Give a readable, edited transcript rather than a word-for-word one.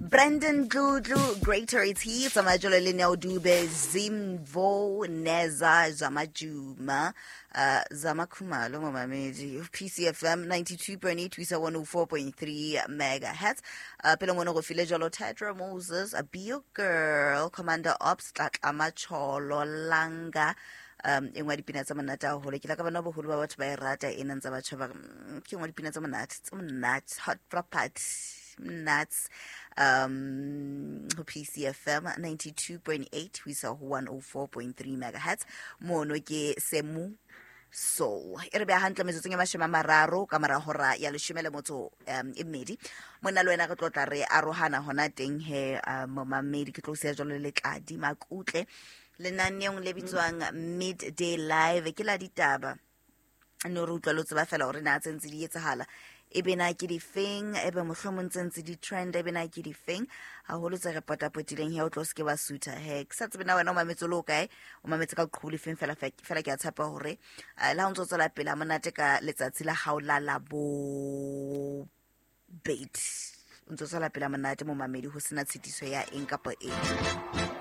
Brandon Dludlu, Greater is He, tsamaya jalo le Neo Dube, Zimvo Neza Zamajuma, Zamakhumalo momamedi, PCFM 92.8 to isa 104.3 megahertz. Pele ngone go file jalo Tedra Moses, a Be Your Girl, Commander Ops, Tlatlama Cholo Langa, e nngwe ya dipina tsa monate haholo. Ke la ka bona boholo ba batho ba e rata e nang tsa batho ba ke nngwe ya dipina tsa monate tse monate, hot property nuts, ho PCFM 92.8 ho isa ho 104.3 megahertz. Mono ke Semu Soul e re beha hantle metsotsong e 30 ka mora hora ya 18 e mmedi. Monna le wena re tlo tla re arohana hona teng he, momamedi ke tlo siya jwalo le Tladi Makutle lenaneong le bitswang Midday Live, ke la ditaba. No re utlwa lo tseba fela hore na tse ntse di etsahala e be na ke difeng, e be mohlomong tse ntse di trend e be na ke difeng haholo tse re potapotileng he. O tlo se ke wa sutha he, ke sa tsebe na wena o mametse o le o kae, o mametse ka qhubu lefeng fela fela. Ke a tshepa hore le ha o ntso tswela pele ha monate ka letsatsi la hao la labobedi, o ntso tswela pele ha monate momamedi, ho sena tshitiso ya eng kapa eng.